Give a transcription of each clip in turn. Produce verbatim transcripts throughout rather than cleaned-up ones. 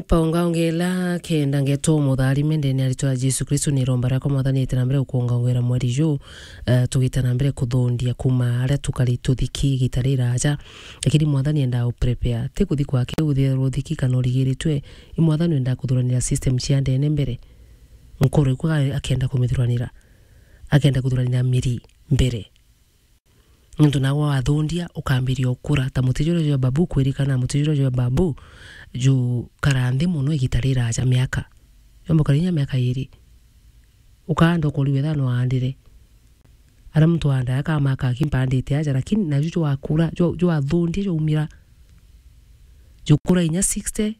Paungaungela kenda ngeto mutharime ndene aritwa ya Jesu Kristo, ni romba riakwa Mwathani ite na mbere gukuungaungera mweri ju, eh, tugite na mbere kuthundia kuma aria tukari tuthiki igita riraja. Lakini Mwathani enda u prepare. Ti kuthi kwake uthirwa uthiki kana urigiritwe. I Mwathani enda kuthuranira system cia ndene mbere. Nkoro iku akenda kumithuranira. Akenda kuthuranira miri mbere. Nontu nawe wathundia, ukambiria ukura. Ta muti juria jwa babu kwirikana, muti juria jwa babu jukara nthi mono igita riraja miaka. Jomba ukara inya miaka iri. Ukaanda ukori wethira no aandire. Aria muntu aandaa kama akaki mpandite aja, lakini naju jwakura, jwa-, jwathundia jaumira. Jukura inya sixty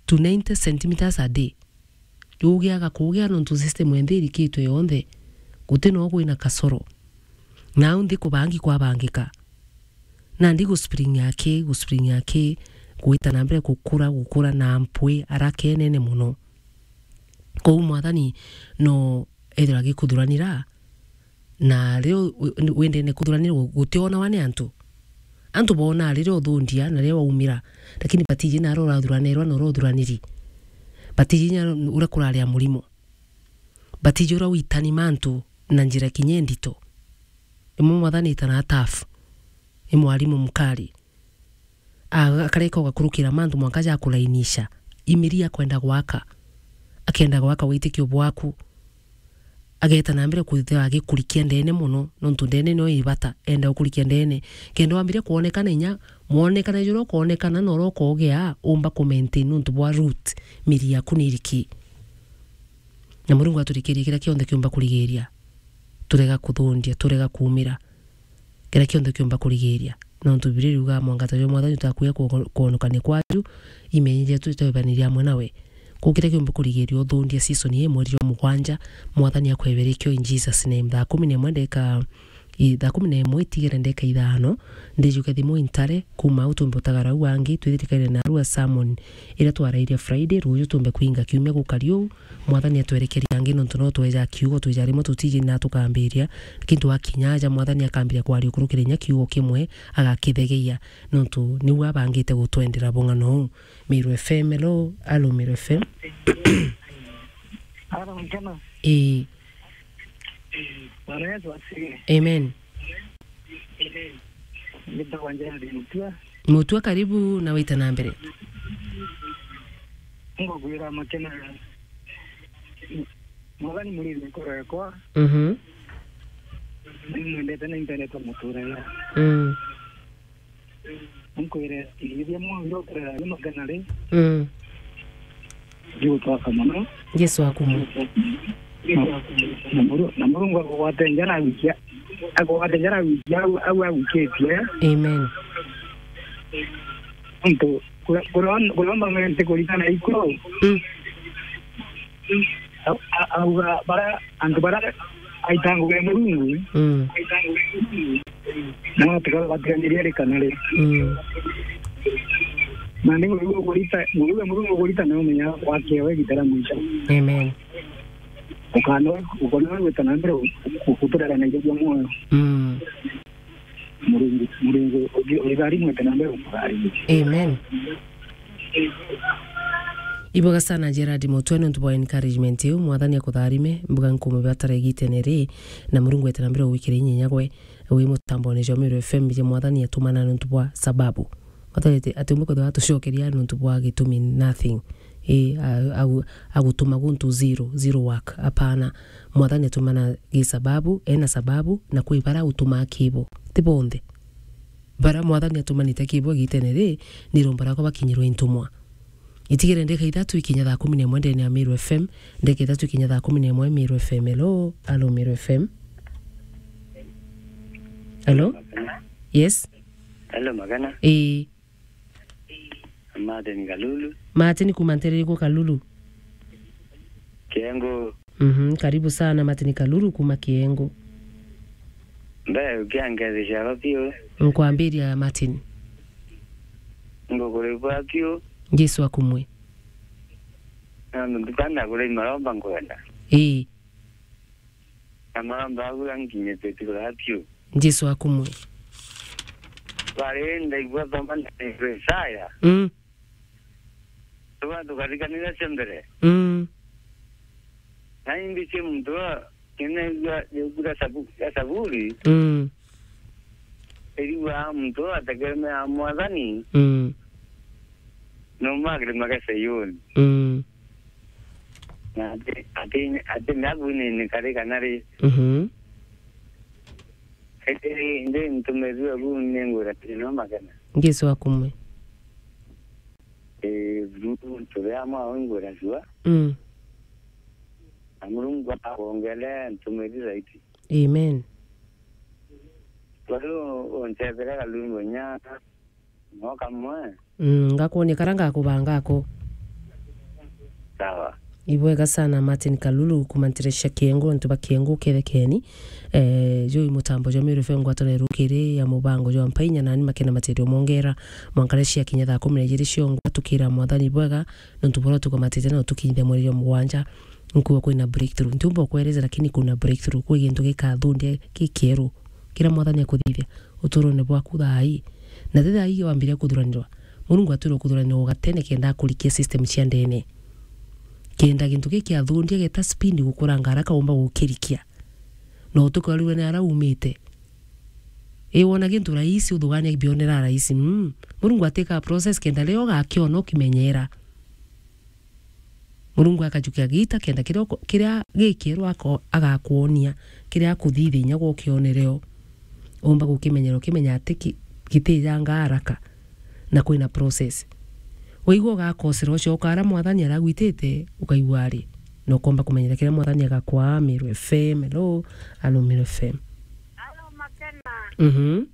to ninety centimeters a day. Jugiaga kugia nontu system enthe irikitwe yonthe. Guti no kwina kasoro. Nau nthi kubangi kwabangika. Nandi guspring aki, guspring aki, gwita na mbere gukura, gukura na mpwi araka enene mono. Kou Mwathani no ethirwa agikuthuranira, na riria u-, u-, wendene kuthuranira gu-, gutionawa ni antu. Antu boonaa riria uthundia na riria waumira, lakini batiji naria urathuranirwa na uria uthuraniri. Batiji inya uria kurari a murimo. Batiji uria witani mantu na njira kinya indito. Imwe Mwathani itana tafu. I mwarimu mukari. A-, akareka ugakurukira mantu mwanka jakulainisha. Imiri akwenda gwaka. Akenda gwaka witikio bwaku. Ageta na mbere kwithirwa agikurikia ndene mono, nontu ndene nio ibata, enda gukurikia ndene. Kenda wambiria kwonekana inya, mwonekane juria ukoonekana na uria ukogea, umba ku maintain nontu bwa root, miri yaku ni iriki. Na Murungu aturikirie kiria kionthe kiumba kurigiria. Turega kuthundia, turega kuumira. Kiria kionthe kiumba kurigiria. Nontu Bibilia iriuga, "Mwangata jwa Mwathani utakuya kwo-, kwonokania kwaju, imenyi jetu itwebaniria amwe nawe." Kwou kiria kiumba kurigiria uthundia season ii, mweri jwa mugwanja, Mwathani akweberie kio in Jesus name. Thaa kumi na imwe ndeka, i, thaa kumi na imwe itigere ndeka ithano, ndijuke thimu intare, kuma au tumbe utagara au angi, twithirikaire na arua sermon iria twarairie Friday, ruuju tumbe kwinga kiumia gukari uu, Mwathani atwerekerie angi, nontu no tweja kiugo, twija rimwe tutiji na tukambiria, lakini twakinya aja, Mwathani akambiria kwaria ukurukire inya kiugo kimwe, agakithegeia, nontu niu abangite gutwendera bung'ano uu. Meru F M, hello, alo, Meru F M. Ara mkana. Ii. Bwana Yesu asifiwe. Amen. Ngitagwa Gerald Mutua. Mutua, karibu na wite na mbere. Ngugwira makena. Mwathani muriri nkoro yakwa. Mhm. Nimwendete na impendete muturire. Mm. Nkwire, ithia mwangi ukurera ni magana ri. Mm. Ndigutwaka mono. Jesu akumwe. Na, na Muru-, na Murungu akugwate njara wikia, akugwate njara wikia au, au awikitie. Amen. Ntu, kura-, kura-, kuromba mente kuritana ikuru. Mm. A-, a-, auga bara, antu bara aita ngugi ya Murungu. Mm. No tukabatigania ri kana ri. Mm. Na ni Murungu ukurita, Murungu, Murungu ukurita na umenya wake we gitara mwisho. Amen. Ukana, ukana gwita na mbere ku-, kuturera na ijo bia mwoyo. Mm. Murungu, Murungu ugi-, ugitharimwete na mbere ukutharimwe. Amen. Ibwega sana Gerard Mutwe nontu bwa encouragement iu. Mwathani akutharime, mbuga nkumubatara igitene ri, na Murungu ete na mbere ugwikira inya inya gwe, wi mutambone jwa Meru F M, je Mwathani atumana nontu bwa sababu. Mwathani ati, ati umbe kwithirwa atucokeria nontu bwa gitumi nothing. Ii, a-, agu-, agutuma guntu zero, zero work. Apana. Mwathani atumana gi sababu, ena sababu, na kwi bara utumaa kibo. Ti bonthe. Bara Mwathani atumanite kibo igitene ri, ni romba rakwa bakinyirwe i ntumwa. Itigere ndeka ithatu ikinya thaa kumi na imwe ndene ya Meru F M, ndeka ithatu ikinya thaa kumi na imwe Meru F M. Hello, hello Meru F M. Hello? Yes? Hello, Magana. Ii. Martin Kalulu. Martin kuma nterere kwa Kalulu. Kiengo. Mhm, karibu sana Martin Kalulu kuma Kiengo. Mbe ukiangethi ciakwa piu. Nkwambiria Martin. Ngukuribwa piu. Jesu akumwe. Na nduka na kuri maromba nkwenda. Ii. Na maromba agu anginyite tigura piu. Jesu akumwe. Bari ndaigua thoma na Isaya. Mm. Tuba Tukarikanira cia mbere. Mm. Na imbi cia muntu wa, kinaigua yugura sabu-, ya Saburi, Mm. iriwa muntu ategemea Mwathani, Mm. no magre magese yoni. Mm. Na ati, ati, ati nabu ni, ni kari kana ri. Mhm. Indi, indi ntumirwe bu ningwira tino magena. Jesu akumwe. Eh, Murungu turi amwe awe ngwira jua. Mm. Na Murungu akwongere ntumiri zaidi. Amen. Kwa hiyo unchethera kalwimbo nya no kamwe. Mm, ngakuonia kara ngakubanga ako. Sawa. Ibwega sana Martin Kalulu kuma Nteresha Kiengo, antu ba Kiengo kerekeni. Eh, juu mutambo jwa Meru F M ngwataniro rukiri ya mubango jwa Mpainya nani makena matirio mongera. Mwankarecia kinya thaa kumi na ijiri ciongwa tukira Mwathani bwega, nontu bora tukomatite na utukinyithia mweri jwa mugwanja. Nkuwa kwina breakthrough. Ntiumba ukwereza, lakini kuna breakthrough. Kwi gintu gikathundia gikieru. Kira Mwathani akuthithia uturone bwaku thaa ii. Na ti thaa ii wambiria kuthuranirwa. Murungu atwirwe kuthuranirwa ugatene kenda akurikia system cia ndene. Kenda gintu giki athundia geta speed gukuranga haraka umba gukirikia. Na utukorerwe ni ara umite. Ii wona gintu rahisi uthugania bionera rahisi. Mm. Murungu atika process kenda rio gakiona ukimenyera. Murungu akajukia gita kenda kiria uko-, kiria gikieru ako-, agakwonia, kiria akuthithinya gukionere o. Umba gukimenyera ukimenya ati ki-, gitijanga haraka na kwina process. Waigua ugakosera ucio ukara Mwathani aragwitite, ukaigua ari, na ukomba kumenyera kiria Mwathani agakwa. Meru F M, hello, alo Meru F M. Alo, Makena. Mhm.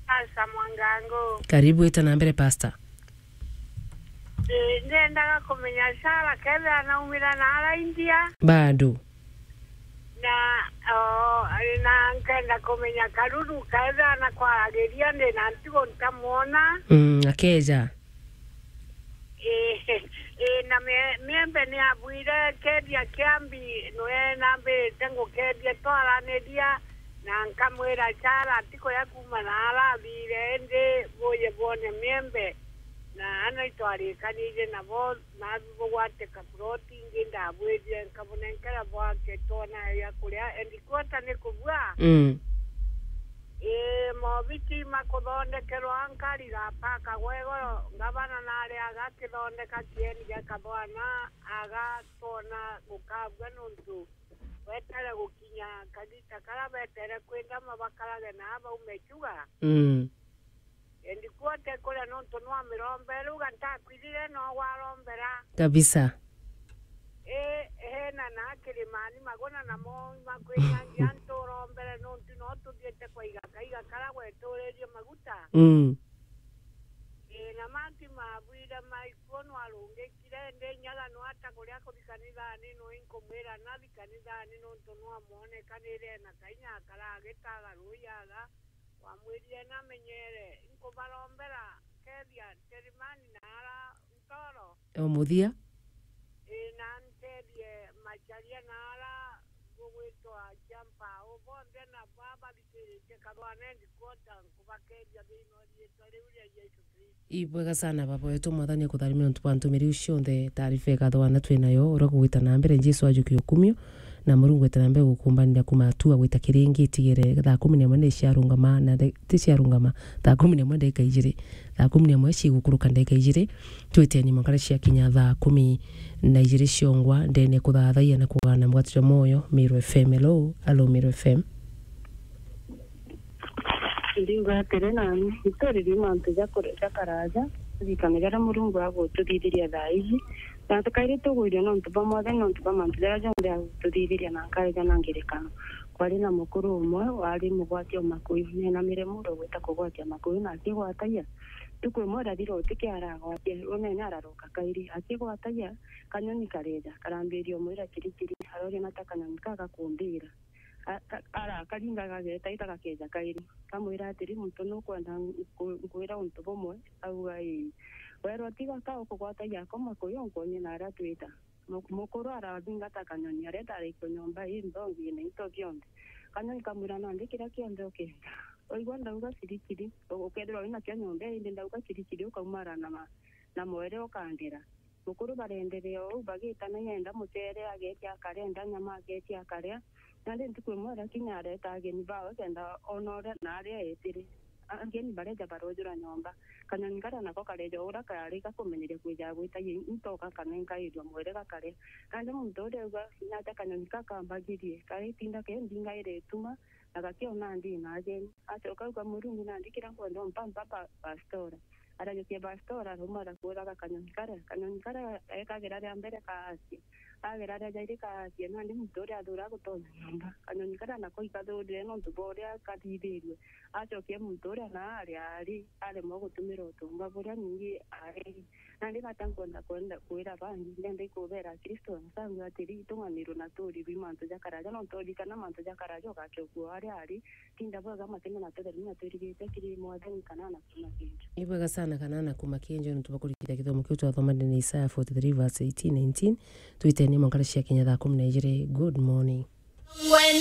Pastor Mwangango. Karibu, ita na mbere, Pastor. Eh, ndendaga kumenya Sara kethira anaumira na ara India. Bado. Na, oh, na nkenda kumenya Karuru kethira anakwaragiria ndi na ntigo ntamwona. Mm, akeja. Eh, eh, na mie-, miembe ni abwire kethia kiambi nwe nambirite ngukethia twaraniria, na nkamwira Sara atikuya kuma na ara athire, indi buye bwone miembe. Na ana itwarikanire nabo, nabi bugwateka ploti ingi ndabwirire nkabunenkera bwake twona ya kuria, endi kwota ni kubua. Mm. Ii, mobiti makuthondekerwa nkari gapaka gwego, ngavana nari agakithondeka kieni gia kathwana, agatwona gukabua nontu wetere gukinya kagita karia betere kwindama bakarage na baume chuga. Mm. Endi kwote kuria nontu nwamirombe, riu ga ntakwirire no gwarombera. Kabisa. Ii, hena na kirimani maguna namo makwinyangia nturombere nontu no tuthiete kwa igaka, igaka karia gweturirie maguta. Mm. Ii, na mantu mabwire maikuo nwarungikire, ndi nyaga nwata kuria kuthi kanithani, nui nkumwira nathi kanithani nontu nwamwonekanire na kainya akara agitaga rui aga. Wamwirire namenyere, nkubarombera kethia Terimani na ara Ntoro. O muthia. Ii, na ntethie Macharia na ara gugwitwa Champau bonthe na babathikiritie kathwana endi kwota nkubakethia thiini wa riitwa riu ria Jesu Kristo. Ibwega sana baba wetu, Mwathani akutharimia nontu bwa ntumiri iu cionthe. Taarifa ikathwana twinayo uria kugwita na mbere, Jesu ajukie ukumio. Na Murungu etere na mbere gukumbanira kuma atua gwita kiringi itigere thaa kumi na imwe ni ciarungama na nde-, ti ciarungama, thaa kumi na imwe ndagika ijiri, thaa kumi na imwe cigukuruka ndagika ijiri, twiteni mwankara ciakinya thaa kumi na ijiri ciongwa ndene kuthathaiya na kugana mugate jwa mwoyo. Meru F M, hello, hello, Meru F M. Ndinga atiri nani, ituririe mantu ja kure-, ja karaja, turirikane jaria Murungu agututhithiria thaa iji, na tukairi tugwiria nontu bwa Mwathani, nontu bwa mantu jaria jonthe agututhithiria na nkaja na ngerekano. Kwari na mukuru umwe wari mugwati o makuyu, nenamire muro gwita kugwatia makuyu, na akigwatagia. Ntuku imwe irathira utikia aragwatia, unene araroka kairi. Akigwatagia, kanyoni kareja, karambiria umwira kirikiri, aroria na ta kanyoni ka gakumbira. A-, ka-, ara-, karinga gageta, ita gakeja kairi. Kamwira atiri, "Muntu nukwenda nku-, nkwira untu bumwe?" Auga, "Ii." Werwa, "Tiga ka ukugwatagia ako makuyu, nkuonie naria twita." Mu-, mukuru arathingata kanyoni, areta araikio nyomba ii nthongi na into bionthe. Kanyoni kamwira, "Nandi kiria kionthe ukenda." Waigua ndauga kirikiri, u-, ukethirwa winakio nyomba ii, indi ndauga kirikiri, ukaumara na ma-, na mwere ukangera. Mukuru barenderea uu, bagitana, yenda mucere agetia akaria, enda nyama agetia akaria. Nandi ntuku imwe arakinya areta ageni bawe kenda ona uria na aria etire. Ageni bareja barojura nyomba. Kanyoni karia nako kareja uria kari gakumenyeria kwija gwita into gakamenkairua mwere gakaria. Nandi muntu uria auga, "Natia kanyoni kakambagirie, kari itinda ke ndingaire ituma, na gakiona ndi na ageni." Acoka auga, "Murungu, nandi kiria nkwenda umpa, mpa pa-, pastora." Arajukia pastora, arauma arakuuraga kanyoni karia. Kanyoni karia ekagira ria mbere kaacia. Agira ria jairi kaacia, nandi muntu uria athura gutonya nyomba. Kanyoni karia nako ikathurire nontu bwa uria kathithiirue. Acokia muntu uria na aria ari, aremwa gutumira utumba buria ningi ari. Nandi gata nkwenda kwenda kwira bangi, ndenda ikubera Kristo nsangu atiri, itung'anirwe na tuurirwe mantu ja karaja, nontu urikana mantu ja karaja ugakia ukuo aria ari. Tinda bwega, makene na tutheru na twirigite kiri Mwathani kana na kuma kinjo. Ibwega sana kana na kuma kinjo, nontu bwa kurikita githomo kiu twathomanire na Isaya forty-three verse eighteen, nineteen. Twitenie mwankara cia kinya thaa kumi na ijiri. Good morning.